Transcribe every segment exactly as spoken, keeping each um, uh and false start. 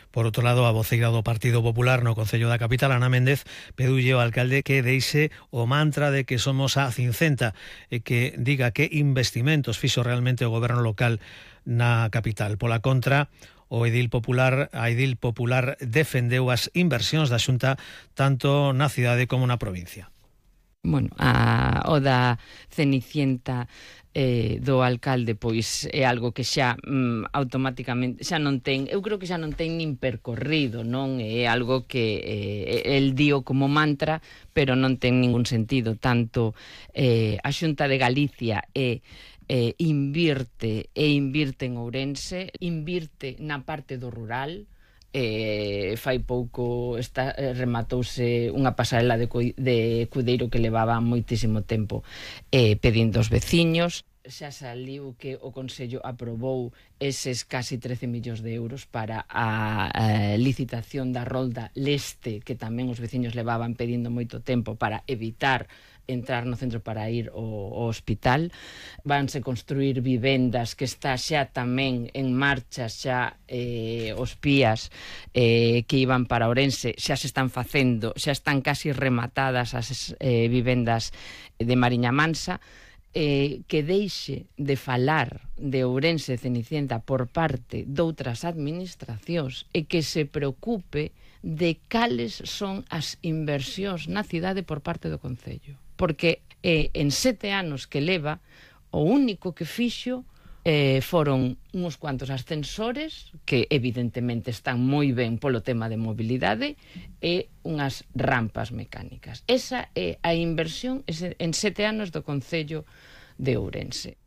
Por outro lado, a voceira do Partido Popular no Concello da Capital, Ana Méndez, pediulle ao alcalde que deixe o mantra de que somos a cincenta e que diga que investimentos fixo realmente o goberno local na capital. Pola contra, o edil popular, a edil popular defendeu as inversións da Xunta tanto na cidade como na provincia. Bueno, a, o da Cenicienta eh, do alcalde pois é algo que xa mm, automáticamente xa non ten, eu creo que xa non ten nin percorrido, non é algo que eh, el dio como mantra, pero non ten ningún sentido. Tanto eh, a Xunta de Galicia e eh, invirte e invirte en Ourense, invirte na parte do rural. Eh, fai pouco está, eh, rematouse unha pasarela de, de Cudeiro que levaba moitísimo tempo eh, pedindo aos veciños. Xa saliu que o Consello aprobou eses casi trece millóns de euros para a, a licitación da rolda leste, que tamén os veciños levaban pedindo moito tempo para evitar entrar no centro para ir ao, ao hospital. Vanse construir vivendas que está xa tamén en marcha, xa eh, os pías eh, que iban para Ourense xa se están facendo, xa están casi rematadas as eh, vivendas de Mariña Mansa. Eh, que deixe de falar de Ourense e Cenicienta por parte doutras administracións e que se preocupe de cales son as inversións na cidade por parte do Concello. Porque eh, en sete anos que leva, o único que fixo eh, foron uns cuantos ascensores, que evidentemente están moi ben polo tema de mobilidade, e unhas rampas mecánicas. Esa é a inversión en sete anos do Concello de Ourense.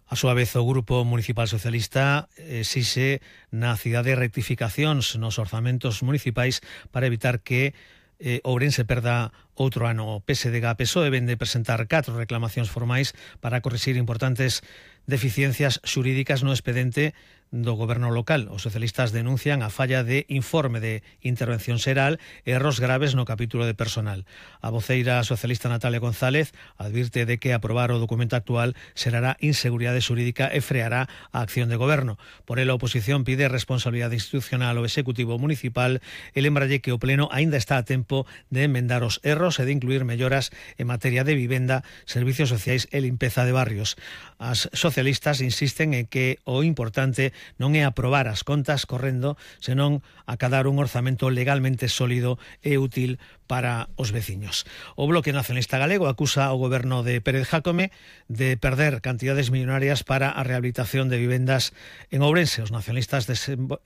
A súa vez, o Grupo Municipal Socialista exixe na cidade rectificacións nos orzamentos municipais para evitar que eh, Ourense perda outro ano. O P S D G P S O E vende presentar catro reclamacións formais para corrixir importantes deficiencias xurídicas no expedente do goberno local. Os socialistas denuncian a falla de informe de intervención xeral e erros graves no capítulo de personal. A voceira socialista Natalia González advirte de que aprobar o documento actual xerará inseguridade xurídica e freará a acción de goberno. Por ela, a oposición pide responsabilidade institucional ao Executivo Municipal e lembralle que o Pleno aínda está a tempo de enmendar os erros e de incluir melloras en materia de vivenda, servicios sociais e limpeza de barrios. As socialistas insisten en que o importante non é aprobar as contas correndo, senón acadar un orzamento legalmente sólido e útil para os veciños. O Bloque Nacionalista Galego acusa ao goberno de Pérez Jácome de perder cantidades millonarias para a rehabilitación de vivendas en Ourense. Os nacionalistas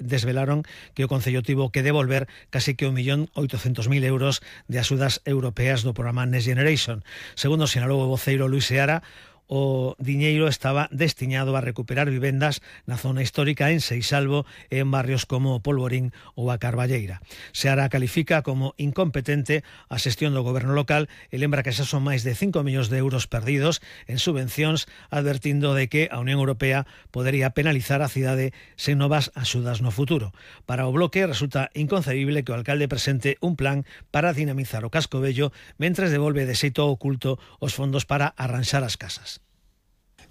desvelaron que o Concello tivo que devolver casi que un millón oitocentos mil euros de axudas europeas do programa Next Generation. Segundo sinalou o voceiro Luis Seara, o diñeiro estaba destiñado a recuperar vivendas na zona histórica en Seixalbo e en barrios como Polvorín ou a Carballeira. Seara califica como incompetente a xestión do goberno local e lembra que xa son máis de cinco millóns de euros perdidos en subvencións, advertindo de que a Unión Europea podería penalizar a cidade sen novas axudas no futuro. Para o Bloque resulta inconcebible que o alcalde presente un plan para dinamizar o casco vello mentres devolve de xeito oculto os fondos para arranxar as casas.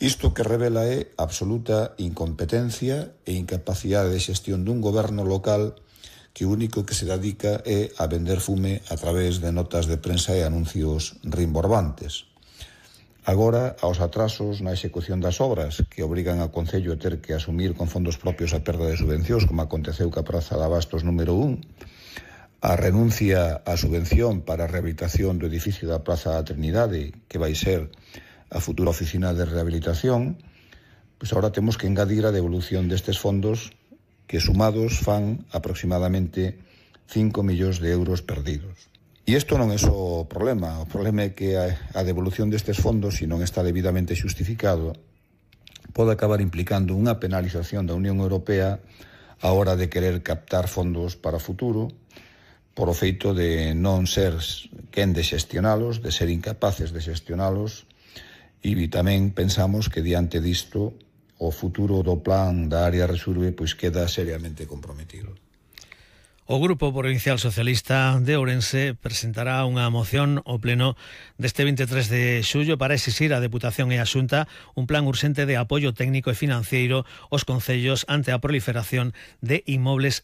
Isto que revela é absoluta incompetencia e incapacidade de xestión dun goberno local que o único que se dedica é a vender fume a través de notas de prensa e anuncios rimborbantes. Agora, aos atrasos na execución das obras que obrigan ao Concello a ter que asumir con fondos propios a perda de subvencións, como aconteceu ca Praza de Abastos número un, a renuncia á subvención para a rehabilitación do edificio da Praza da Trinidade, que vai ser a futura oficina de rehabilitación, pois agora temos que engadir a devolución destes fondos que sumados fan aproximadamente cinco millóns de euros perdidos. E isto non é só o problema, o problema é que a devolución destes fondos, se non está debidamente xustificado, pode acabar implicando unha penalización da Unión Europea a hora de querer captar fondos para o futuro, por o feito de non ser quen de xestionalos, de ser incapaces de xestionalos. E tamén pensamos que diante disto o futuro do plan da área Resurbe pois queda seriamente comprometido. O Grupo Provincial Socialista de Ourense presentará unha moción ao Pleno deste veintitrés de xullo para exixir á Deputación e á Xunta un plan urxente de apoio técnico e financeiro aos concellos ante a proliferación de inmobles en